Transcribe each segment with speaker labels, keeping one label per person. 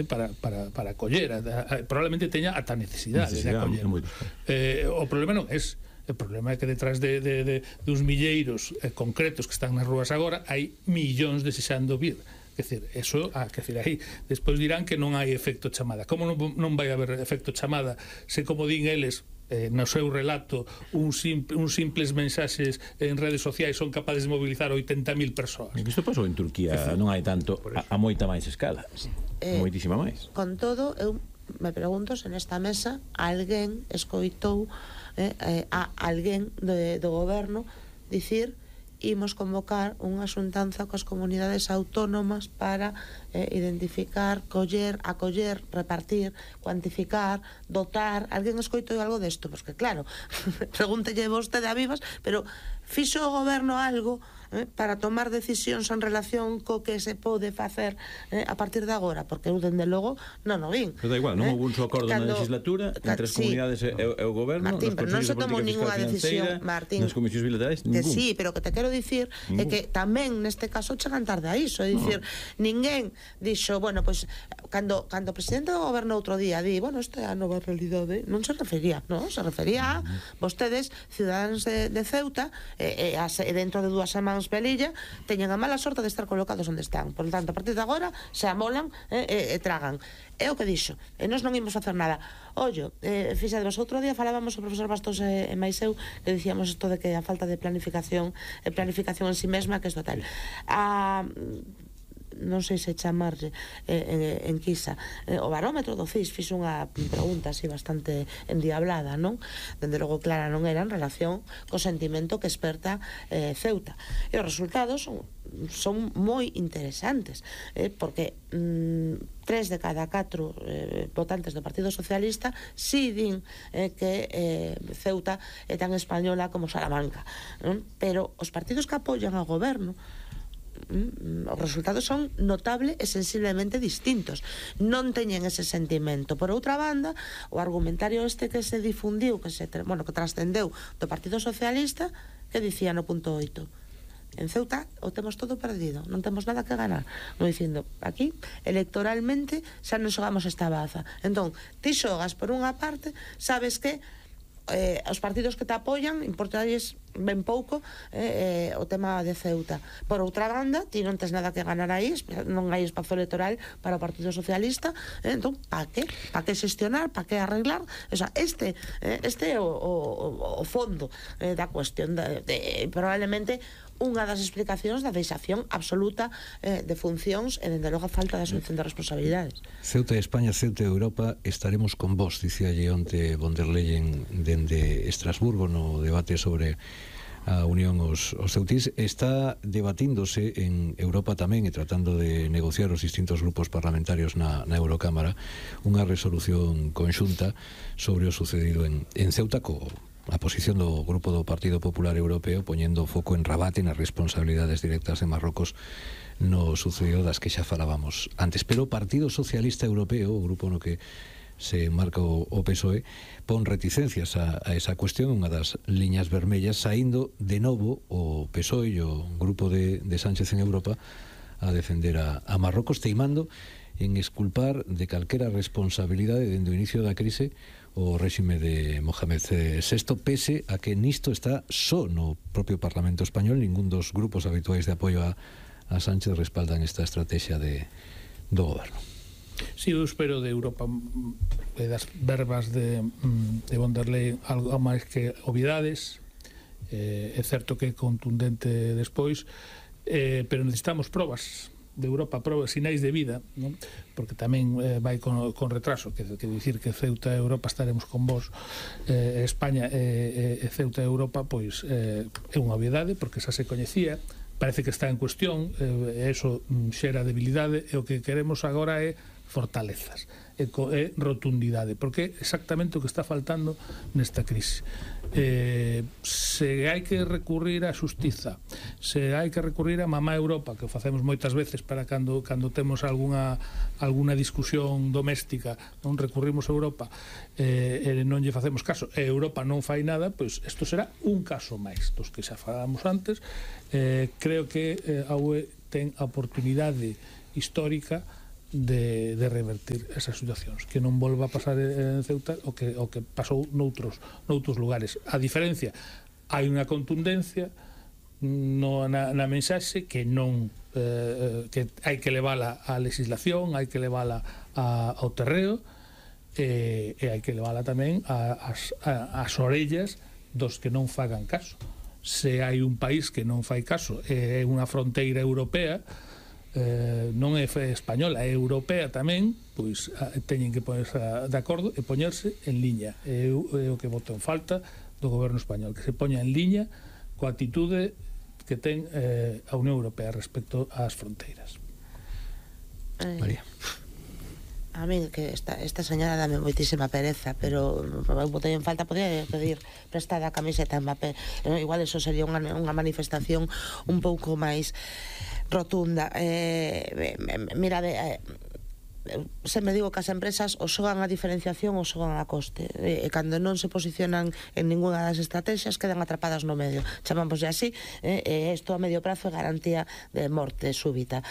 Speaker 1: para acoller, probablemente teña ata necesidade de acoller. O problema non é ese. O problema é que detrás dos milleiros concretos que están nas rúas agora hai millóns desexando vir. Quer dizer, eso, aí despois dirán que non hai efecto chamada. Como non vai haber efecto chamada se, como din eles, no seu relato, uns simples mensaxes en redes sociais son capaces de mobilizar 80.000 persoas?
Speaker 2: Isto pasou en Turquía, non hai tanto, a moita máis escala, moitísima máis.
Speaker 3: Con todo, eu me pregunto se nesta mesa alguén escoitou a alguén do goberno dicir: imos convocar unha xuntanza coas comunidades autónomas para identificar, acoller, repartir, cuantificar, dotar. Alguén escoitou algo desto? Porque claro, pregúntelle vostede a vivas, pero fixo o goberno algo para tomar decisións en relación co que se pode facer a partir de agora? Porque eu, dende logo, non o vin.
Speaker 2: Pero da igual, non houve un só acordo na legislatura entre as comunidades e o goberno,
Speaker 3: Martín, pero non se tomou ninguna decisión, Martín,
Speaker 2: nas comisións bilaterais, ningún.
Speaker 3: Que sí, pero que te quero dicir é que tamén neste caso chegan tarde a iso, é dicir, ninguén dixo, bueno, pois cando o presidente do goberno outro día di, bueno, isto é a nova realidade, non se refería, non? Se refería a vostedes, ciudadanos de Ceuta, e dentro de 2 semanas Pelilla, teñen a mala sorte de estar colocados onde están. Por lo tanto, a partir de agora se amolan e tragan. É o que dixo, e nós non imos facer nada. Ollo, fixadevos, outro día falábamos o profesor Bastos e máis eu, que dicíamos isto de que a falta de planificación en si mesma, que é total. Non sei se chamarlle en Quisa, o barómetro do CIS fixo unha pregunta así bastante endiablada, non? Dende logo clara non era en relación co sentimento que esperta Ceuta, e os resultados son moi interesantes, porque 3 de cada 4 votantes do Partido Socialista si din que Ceuta é tan española como Salamanca, pero os partidos que apoian ao goberno, os resultados son notable e sensiblemente distintos, non teñen ese sentimento. Por outra banda, o argumentario este que se difundiu, que trascendeu do Partido Socialista, que dicía no punto 8: en Ceuta o temos todo perdido, non temos nada que ganar, non dicindo, aquí electoralmente xa non xogamos esta baza. Entón, ti xogas por unha parte, sabes que os partidos que te apoian importarles ben pouco o tema de Ceuta. Por outra banda, ti non tes nada que ganar aí, non hai espazo electoral para o Partido Socialista, entón, pa que xestionar, pa que arreglar? O sea, este é o fondo da cuestión, probablemente unha das explicacións da deixación absoluta de funcións e, dende logo, a falta de asunción de responsabilidades.
Speaker 4: Ceuta e España, Ceuta e Europa, estaremos con vos, dicíalle onte von der Leyen dende Estrasburgo no debate sobre a unión aos ceutís. Está debatíndose en Europa tamén e tratando de negociar os distintos grupos parlamentarios na Eurocámara unha resolución conxunta sobre o sucedido en Ceuta, a posición do Grupo do Partido Popular Europeo poñendo o foco en Rabat e nas responsabilidades directas de Marrocos no sucedido das que xa falábamos antes. Pero o Partido Socialista Europeo, o grupo no que se marca o PSOE, pon reticencias a esa cuestión, unha das liñas vermellas, saindo de novo o PSOE e o grupo de Sánchez en Europa a defender a Marrocos, teimando en exculpar de calquera responsabilidade dende o inicio da crise o réxime de Mohamed VI, pese a que nisto está só no propio Parlamento Español. Ningún dos grupos habituais de apoio a Sánchez respaldan esta estrategia do goberno.
Speaker 1: Si, eu espero de Europa das verbas de von der Leyen algo máis que obviedades. É certo que é contundente despois, pero necesitamos probas de Europa, probas, sinais de vida, non? Porque tamén vai con retraso, que dicir que Ceuta e Europa estaremos con vos, España e Ceuta e Europa, pois é unha obviedade, porque xa se coñecía, parece que está en cuestión, e eso xera debilidade, e o que queremos agora é fortalezas e rotundidade, porque é exactamente o que está faltando nesta crise. Se hai que recurrir á xustiza, se hai que recurrir a mamá Europa, que o facemos moitas veces para cando temos alguna discusión doméstica, non recurrimos a Europa e non lle facemos caso, e Europa non fai nada, pois isto será un caso máis dos que xa falamos antes. Creo que a UE ten a oportunidade histórica de revertir esas situacións, que non volva a pasar en Ceuta o que pasou noutros lugares. A diferencia, hai unha contundencia na mensaxe que non que hai que levala á legislación, hai que levala ao terreo, e hai que levala tamén ás orellas dos que non fagan caso. Se hai un país que non fai caso, é unha fronteira europea, non é española, é europea tamén, pois teñen que ponerse de acordo e poñerse en liña. É o que voto en falta do goberno español, que se poña en liña coa atitude que ten a Unión Europea respecto ás fronteiras.
Speaker 4: María.
Speaker 3: A mí que esta señora dame moitísima pereza, pero botei en falta, podía pedir prestada a camiseta en Mbappé. Igual eso sería unha manifestación un pouco máis rotunda. Mira, se me digo que as empresas o xogan a diferenciación ou xogan a coste, e cando non se posicionan en ninguna das estrategias quedan atrapadas no medio, chamámoslle así, e isto a medio prazo é garantía de morte súbita,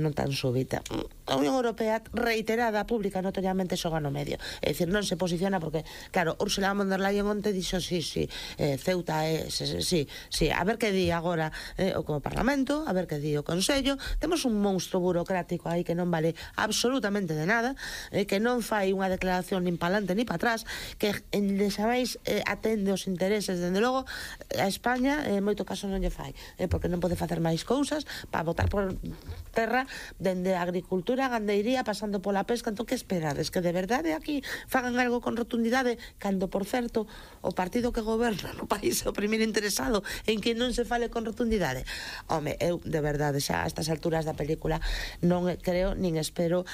Speaker 3: non tan súbita. A Unión Europea reiterada, pública, notoriamente xoga no medio, é dicir, non se posiciona porque, claro, Ursula von der Leyen onte dixo Ceuta é, a ver que di agora o Parlamento, a ver que di o Consello. Temos un monstro burocrático aí que non vale absolutamente de nada, que non fai unha declaración nin para adelante nin para atrás, que deixabais atende os intereses, dende logo a España en moito caso non lle fai, porque non pode facer máis cousas para botar por terra dende a agricultura, a gandeiría, pasando pola pesca. Entón, que esperades? Que de verdade aquí fagan algo con rotundidade, cando, por certo, o partido que goberna no país é o primeiro interesado en que non se fale con rotundidade? Home, eu, de verdade, xa a estas alturas da película non creo nin espero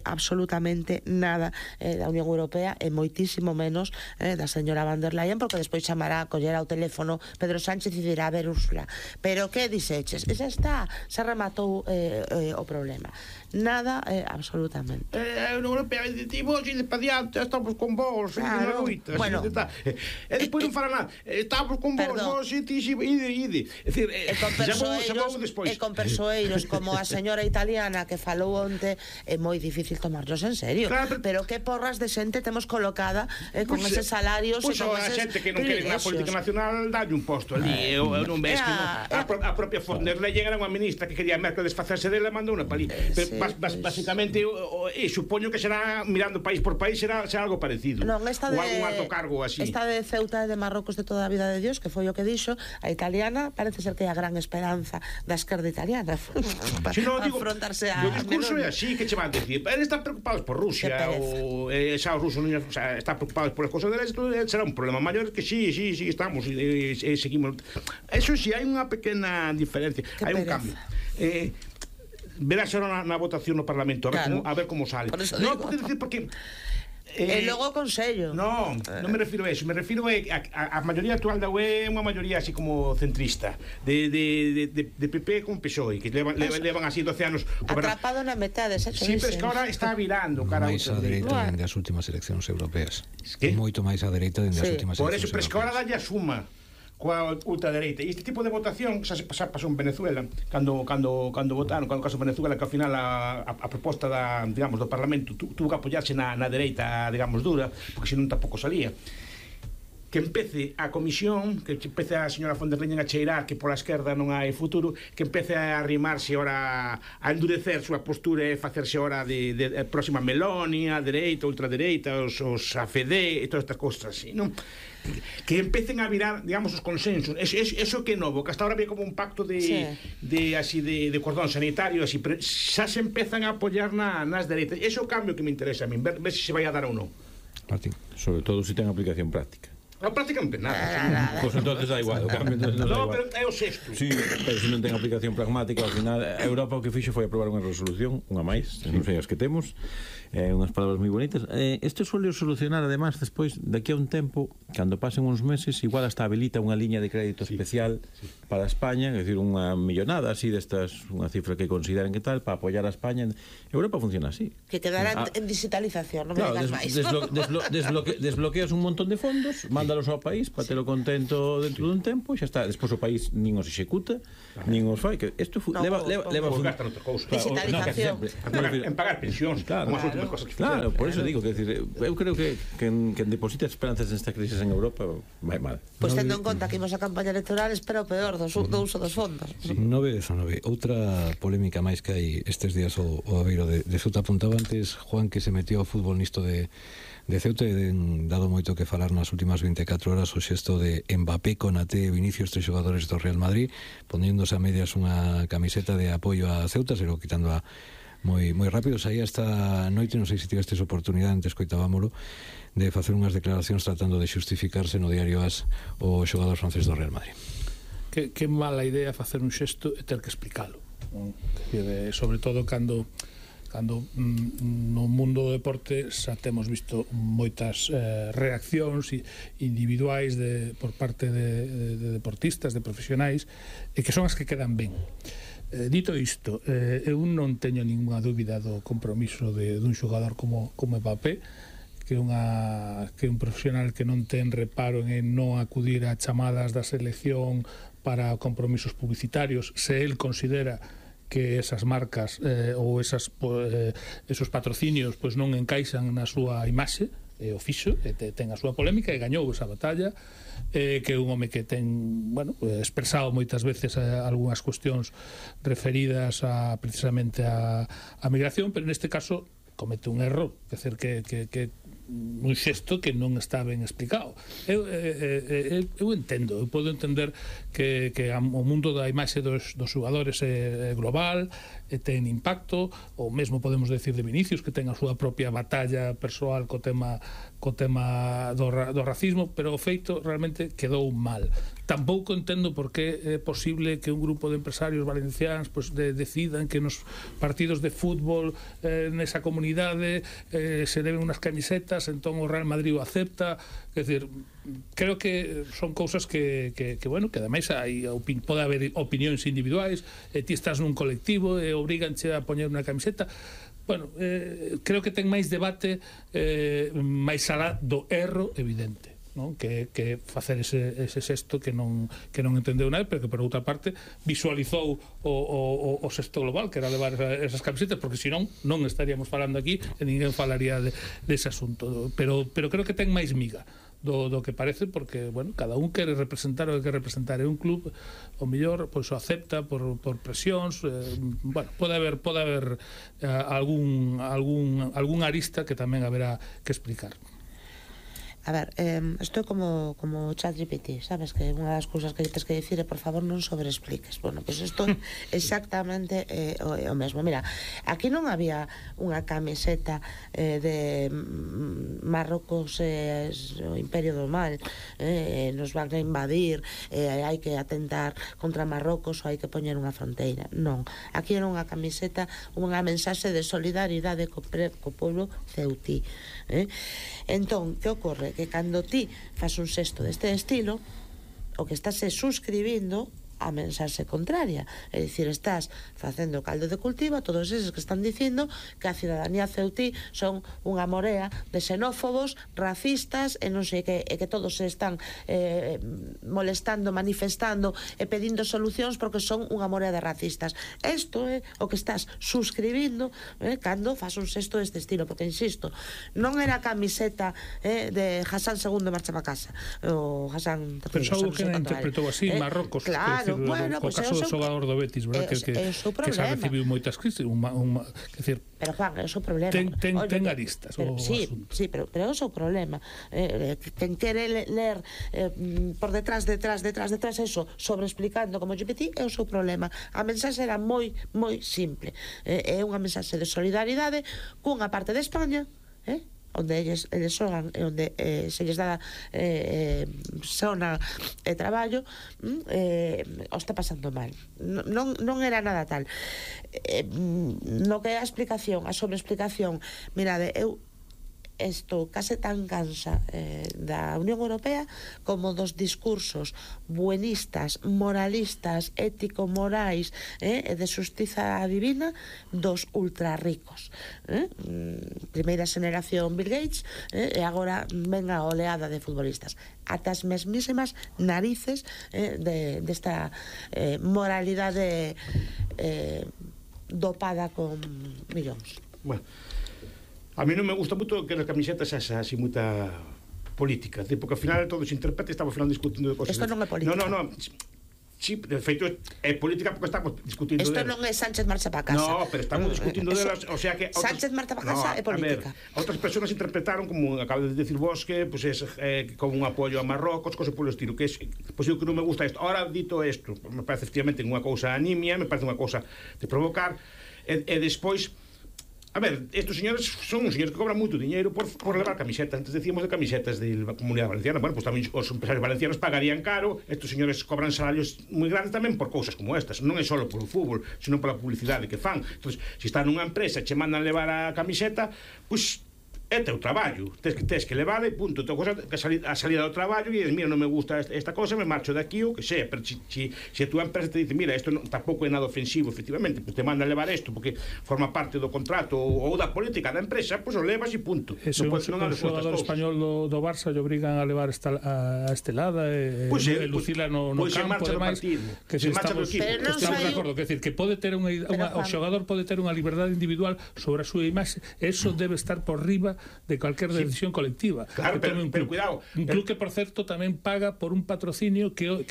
Speaker 3: absolutamente nada da Unión Europea, e moitísimo menos da señora von der Leyen, porque despois chamará, collerá o teléfono Pedro Sánchez e dirá: a ver, Úrsula, pero que dixeches? E xa está, se rematou o problema. Nada, absolutamente.
Speaker 5: A Unión Europea dice: vos ide para diante, estamos con vos,
Speaker 3: claro. Bueno,
Speaker 5: e despois non fará nada, estamos con vos, vos ide. É dicir,
Speaker 3: e con persoeiros como a señora italiana que falou onte, é moi difícil tomarlos en serio.
Speaker 5: Claro,
Speaker 3: pero que porras de xente temos colocada con eses salarios e con eses
Speaker 5: a xente que non quere na política nacional dalle un posto ali. Eu non ves que a propia von der Leyen era unha ministra que quería Merkel desfacerse dela, mandou unha palí. Basicamente, supoño que será, mirando país por país, será algo parecido.
Speaker 3: Non, esta
Speaker 5: ou algún alto cargo así.
Speaker 3: Esta de Ceuta e de Marrocos de toda a vida de Dios, que foi o que dixo, a italiana parece ser que é a gran esperanza da esquerda italiana para afrontarse a...
Speaker 5: O discurso é así, que che van dicir, eles están preocupados por Rusia, ou xa os rusos están preocupados por as cosas deles, será un problema maior, que sí, estamos e seguimos. Eso sí, hai unha pequena diferencia, hai un cambio. Verás ahora na votación no Parlamento, a ver como sale. Non, porque
Speaker 3: e logo o Consello.
Speaker 5: Non me refiro a eso, me refiro a maioría actual da UE é unha maioría así como centrista, de PP con PSOE, que levan así 12 anos
Speaker 3: atrapado na metade, xa te
Speaker 5: dixen. Sí, pero es que ahora está virando cara
Speaker 4: máis a dereita dende as últimas eleccións europeas. Moito máis a dereita dende as últimas eleccións europeas. Por eso,
Speaker 5: pero es que ahora dalle a suma coa ultradereita. E este tipo de votación xa pasou en Venezuela, cando votaron, cando caso Venezuela, que ao final a proposta digamos, do Parlamento tuvo que apoiarse na dereita, digamos, dura, porque senón tampouco salía. Que empece a comisión, que empece a señora von der Leyen a cheirar que pola esquerda non hai futuro, que empece a arrimarse ora, a endurecer súa postura e facerse ora de próxima Meloni, a dereita, ultradereita, os AfD e todas estas cosas así, non? Que empecen a virar, digamos, os consensos. Eso que é novo, que hasta ahora había como un pacto de cordón sanitario, así, pero xa se empezan a apoiar nas dereitas. Ese é o cambio que me interesa a mí, ver se se vai a dar ou non.
Speaker 2: Martín, sobre todo se ten aplicación práctica.
Speaker 5: No, prácticamente nada.
Speaker 2: Pois entonces da igual, o cambio entonces non dá igual.
Speaker 5: Pero é o sexto.
Speaker 2: Sí, pero se non ten aplicación pragmática, ao final Europa o que fixo foi aprobar unha resolución, unha máis, non sei as que temos, unhas palabras moi bonitas. Este suele solucionar, además, despois, daqui a un tempo, cando pasen uns meses, igual hasta habilita unha liña de crédito especial para España, é dicir, unha millonada así destas, unha cifra que consideren que tal, para apoiar a España. Europa funciona así.
Speaker 3: Que quedará en digitalización, non me digas máis.
Speaker 2: Desbloqueas un montón de fondos, mandas mandalos ao país para telo contento dentro dun tempo, xa está, despois o país nin os executa, nin os fai, que isto leva
Speaker 5: gastan outra cousa.
Speaker 3: Digitalización.
Speaker 5: En pagar pensións, como as últimas cosas que fixeron.
Speaker 2: Claro, por eso digo, que decir, eu creo que quen deposita esperanzas nesta crisis en Europa vai mal.
Speaker 3: Pois tendo en conta que imos a campaña electoral, espera o peor do uso dos fondos.
Speaker 4: 9-19. Outra polémica máis que hai estes días o Aveiro de Ceuta apuntaba antes Juan que se metió ao fútbol nisto de Ceuta e dado moito que falar nas últimas 24 horas o xesto de Mbappé, Konaté e Vinicius, 3 xogadores do Real Madrid, poñéndose a medias unha camiseta de apoio a Ceuta, se lo quitando a moi rápido. Saía esta noite, non sei se tivestes oportunidade, antes coitábamolo, de facer unhas declaracións tratando de xustificarse no diario AS o xogador francés do Real Madrid.
Speaker 1: Que mala idea facer un xesto e ter que explicalo, sobre todo cando no mundo do deporte xa temos visto moitas reaccións individuais por parte de deportistas, de profesionais, e que son as que quedan ben. Dito isto, eu non teño ninguna dúbida do compromiso dun xogador como Mbappé, que é un profesional que non ten reparo en non acudir a chamadas da selección para compromisos publicitarios, se el considera que esas marcas ou esos patrocinios pois non encaixan na súa imaxe, o fixo, ten a súa polémica e gañou esa batalla, que é un home que ten, expresado moitas veces algunhas cuestións referidas precisamente a migración, pero neste caso comete un erro, quer dizer que un xesto que non está ben explicado. Eu entendo, eu podo entender que o mundo da imaxe dos xogadores é global, ten impacto, ou mesmo podemos decir de Vinicius, que ten a súa propia batalla persoal co tema do racismo, pero o feito realmente quedou mal. Tampouco entendo por que é posible que un grupo de empresarios valencianos decidan que nos partidos de fútbol nesa comunidade se deben unhas camisetas, entón o Real Madrid o acepta. Quer dizer, creo que son cousas que ademais pode haber opinións individuais, e ti estás nun colectivo e obriganche a poñer unha camiseta. Creo que ten máis debate máis alá do erro evidente, non? Que facer ese xesto que non entendeu nada, pero que por outra parte visualizou o xesto global, que era levar esas camisetas, porque senón non estaríamos falando aquí e ninguén falaría dese asunto, pero creo que ten máis miga do que parece, porque, cada un quere representar o que quere representar, e un club o mellor pois o acepta por presións, pode haber algún arista que tamén haberá que explicar.
Speaker 3: A ver, estou como ChatGPT, sabes, que unha das cousas que tens que dicir é por favor non sobreexpliques. Pois isto exactamente o mesmo. Mira, aquí non había unha camiseta de Marrocos, o Imperio do Mal, nos van a invadir, hai que atentar contra Marrocos ou hai que poñer unha fronteira. Non, aquí era unha camiseta, unha mensaxe de solidaridade co povo ceutí. Entón, que ocorre? Que cando ti fas un xesto deste estilo, o que estás suscribindo a mensaxe contraria, é dicir, estás facendo caldo de cultivo a todos eses que están dicindo que a cidadanía ceutí son unha morea de xenófobos, racistas e non sei que, e que todos se están molestando, manifestando e pedindo solucións porque son unha morea de racistas. Isto é o que estás suscribindo cando fas un xesto deste estilo, porque insisto, non era a camiseta de Hassan II marcha para casa, o Hassan III.
Speaker 1: Pensou que non interpretou así Marrocos,
Speaker 3: claro.
Speaker 1: O caso do xogador do Betis, verdad, que xa recibiu moitas crisis,
Speaker 3: pero Juan, é o seu problema.
Speaker 1: Ten aristas o asunto.
Speaker 3: Sí, pero é o seu problema. Quen quere ler por detrás eso, sobreexplicando como GPT, é o seu problema. A mensaxe era moi simple. É unha mensaxe de solidaridade cunha parte de España, onde eles xogan e onde se lles dá sona e traballo, o está pasando mal. Non era nada tal. No que é a explicación, a sobreexplicación, mirade, eu isto case tan cansa da Unión Europea como dos discursos buenistas, moralistas, ético-morais e de xustiza divina dos ultrarricos. Primeira xeneración Bill Gates e agora ven a oleada de futbolistas. Ata as mesmísimas narices desta moralidade dopada con millóns.
Speaker 5: Bueno, a mí non me gusta moito que as camisetas así moita política, porque ao final todo se interpreta e estamos ao final discutindo de cosas.
Speaker 3: Isto non é política.
Speaker 5: No. Sí, de feito é política porque estamos discutindo
Speaker 3: isto non é Sánchez marcha para casa.
Speaker 5: No, pero estamos discutindo delas, o sea que
Speaker 3: Sánchez marcha para casa é política.
Speaker 5: Outras persoas interpretaron como acaba de decir vos que pues es como un apoio a Marrocos, cosas polo estilo, que é pois eu que non me gusta isto. Ahora dito isto, me parece efectivamente unha cousa anemia, me parece unha cousa de provocar e despois a ver, estos señores son uns señores que cobran moito diñeiro por levar camisetas. Antes decíamos de camisetas da Comunidade Valenciana. Bueno, pues tamén os empresarios valencianos pagarían caro. Estos señores cobran salarios moi grandes tamén por cousas como estas. Non é só polo fútbol, sino pola publicidade que fan. Entón, se están nunha empresa e che mandan levar a camiseta, pois é teu traballo, tes que levar e punto. Tua cosa a salida do traballo e dices, mira, non me gusta esta cosa, me marcho de aquí ou que sea. Pero se a tua empresa te dice, mira, isto tampouco é nada ofensivo, efectivamente, pues te manda levar isto porque forma parte do contrato ou da política da empresa, pois o levas e punto.
Speaker 1: O xogador español do Barça lle obrigan a levar a estelada e lucila no campo, ademais, que se estamos de acordo, que decir, que pode ter o xogador pode ter unha liberdade individual sobre a súa imaxe, eso debe estar por riba de cualquier decisión colectiva.
Speaker 5: Claro, pero cuidado.
Speaker 1: Un club que, por certo, tamén paga por un patrocinio que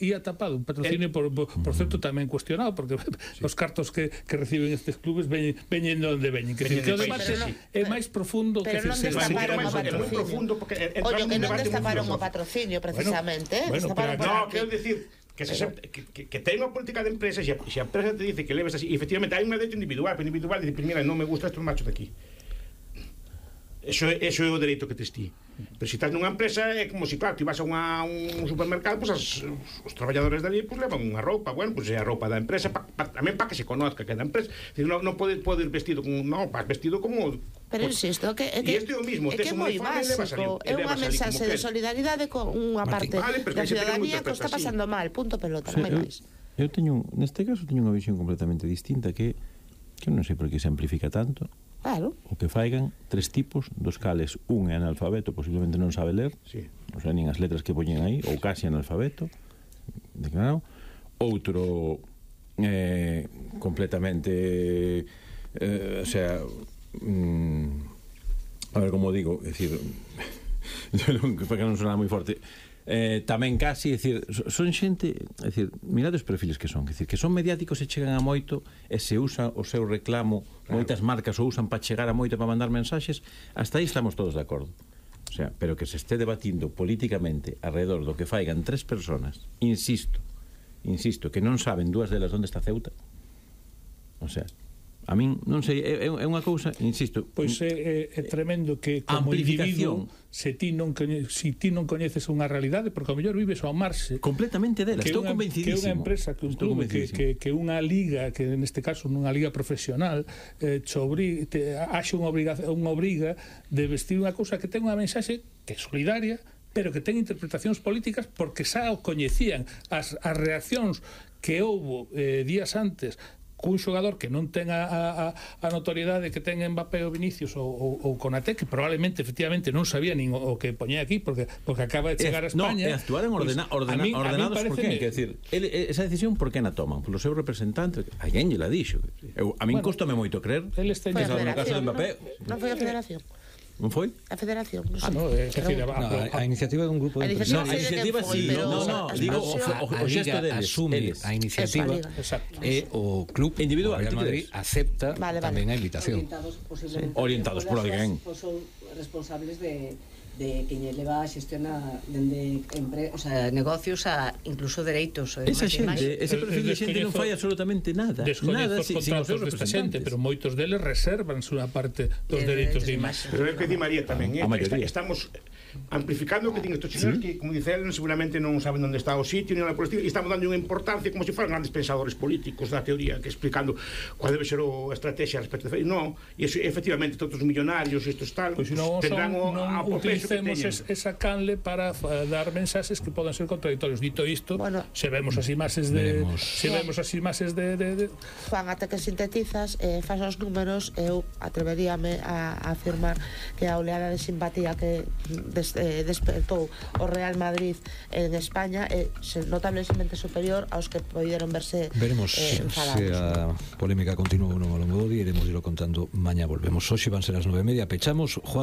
Speaker 1: ia tapado. Un patrocinio, por certo, tamén cuestionado, porque os cartos que reciben estes clubes veñen onde veñen. Que o debate é máis profundo que
Speaker 3: pero non destaparon o patrocinio. Ollo, que non destaparon o patrocinio, precisamente.
Speaker 5: No, quero dicir que ten unha política de empresa, se a empresa te dice que leves así, efectivamente hai un dereito individual, pero individual dice, mira, non me gusta isto, macho de aquí. Eso é o dereito que tes ti. Pero se estás nunha empresa é como se, claro, ti vas a un supermercado, pues os traballadores dali pues levan unha roupa, bueno, pues é a roupa da empresa tamén para que se conozca que é da empresa. Non podes ir vestido como, non, vas vestido como.
Speaker 3: Pero insisto, que é
Speaker 5: o mismo,
Speaker 3: tes un uniforme e levas ali. É unha mensaxe de solidaridade con unha parte da ciudadanía que está pasando mal, punto pelota, non hai máis.
Speaker 2: Eu teño, neste caso, teño unha visión completamente distinta que non sei por que se amplifica tanto.
Speaker 3: Claro.
Speaker 2: O que faigan tres tipos, dos cales un é analfabeto, posiblemente non sabe ler,
Speaker 3: sí.
Speaker 2: O sea, nin as letras que poñen aí, ou casi analfabeto, declarado. Outro completamente o sea, a ver como digo, é dicir, para que non sona moi forte, tamén casi, é dicir, son xente, é dicir, mirade os perfiles que son, é dicir, que son mediáticos e chegan a moito e se usa o seu reclamo, moitas marcas o usan para chegar a moito, para mandar mensaxes, hasta aí estamos todos de acordo. O sea, pero que se esté debatindo políticamente alrededor do que faigan tres personas, insisto, que non saben dúas delas onde está Ceuta. O sea, a min, non sei, é unha cousa, insisto.
Speaker 1: Pois é tremendo que como individuo, se ti non coñeces unha realidade, porque ao mellor vives ao marxe
Speaker 2: completamente dela, estou convencidísimo.
Speaker 1: Que unha empresa, que un club, que unha liga, que neste caso nunha liga profesional, haxe unha obriga de vestir unha cousa que ten unha mensaxe que é solidaria, pero que ten interpretacións políticas porque xa o coñecían. As reaccións que houbo días antes cun xogador que non ten a notoriedade que ten Mbappé ou Vinicius ou Konaté, que probablemente efectivamente non sabía nin o que poñía aquí porque acaba de chegar a España.
Speaker 2: No, actuaron ordenados por quen, quer decir, esa decisión por que na toman? Polo seu representante, alguén lle la dixo. A min costame moito creer que no caso de Mbappé.
Speaker 3: Non foi a Federación.
Speaker 2: Non foi?
Speaker 3: A Federación, non
Speaker 1: sei.
Speaker 4: A iniciativa dun grupo de
Speaker 2: empresarios. A iniciativa sí, digo o xesto deles.
Speaker 4: Asume a iniciativa e o club individual Real Madrid acepta tamén a invitación.
Speaker 2: Orientados por alguén.
Speaker 6: Son responsables de de quen leva a xestiona dende o sea, negocios a incluso dereitos.
Speaker 2: Esa xente, ese perfil de xente non fai absolutamente nada.
Speaker 1: Descoñezo os contratos desta xente, pero moitos deles reservanse unha parte dos dereitos de imaxe.
Speaker 5: Pero é o que di María tamén, estamos amplificando o que din estos chinos que, como dice él, seguramente non saben onde está o sitio ni nada por el estilo, e estamos dando unha importancia como se fueran grandes pensadores políticos da teoría, que explicando cuál debe ser a estrategia respecto de... No, e efectivamente todos os millonarios estos tal,
Speaker 1: pois
Speaker 5: tendrán
Speaker 1: non utilicemos esa canle para dar mensaxes que podan ser contradictorios. Dito isto, se vemos as imaxes de
Speaker 3: Juan, ata que sintetizas, faz os números, eu atreveríame a afirmar que a oleada de simpatía que despertou o Real Madrid en España é notablemente superior aos que poderon verse enfadados.
Speaker 4: Se a polémica continúa ou non ao longo do día, iremos contando mañá. Volvemos hoxe, van ser as 9:30, pechamos. Juan